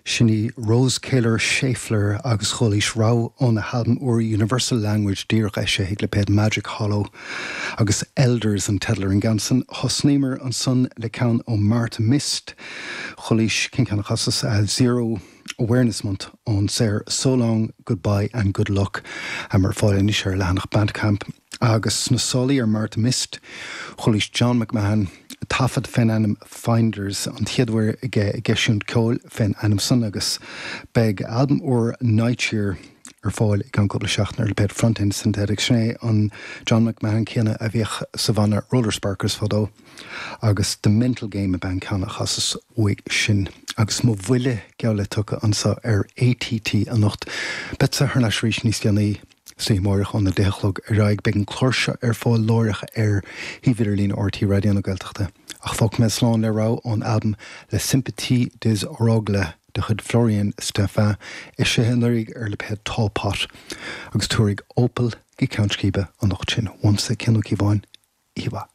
Sin í Rose Kaler Schaeffler agus chualaís rogha óna halbam úr Universal Language díreach eisithe ag lipéad Magic Hollow agus Elders an teideal ar an gceann san. Thosnaíomar ansan le ceann ó Martha Mist. Chualaís cén ceann a chasas? Zero Awareness Month ón saothar So Long, Goodbye and Good Luck ar fáil anois ar a leathanach Bandcamp. Agus sna sálaí ar Martha Mist, chualaís John McMahon, taifead fén ainm Finders, an chéad uair aige ag eisiúint ceoil fén ainm san agus beidh a albam úr Night Year ar fáil i gceann cúpla seachtain ar lipéad Front End Synthetics. Sin é an John McMahon céanna a bhíodh sa bhanna Roller Sparkers fadó agus The Mental Game ab ea an ceann a chasas uaidh sin. Agus mo bhuille geall le tugtha anso ar ATT anocht. Beadsa thar n-ais arís níos déanaí. San oíche amárach óna 10 a chlog ar aghaidh. Beidh an clár seo ar fáil láithreach ar shuíomh idirlín RTÉ Raidió na Gaeltachta. Ach fágfaidh mé slán le rogha ón albam La Sympathie des Oragles de chuid Florian Stéphan, eisithe anuraidh ar lipéad Tall Pot, agus tabharfaidh Opal go ceann scríbe an lucht sin. Uaimse, Cian Ó Cíobháin, oíche mhaith.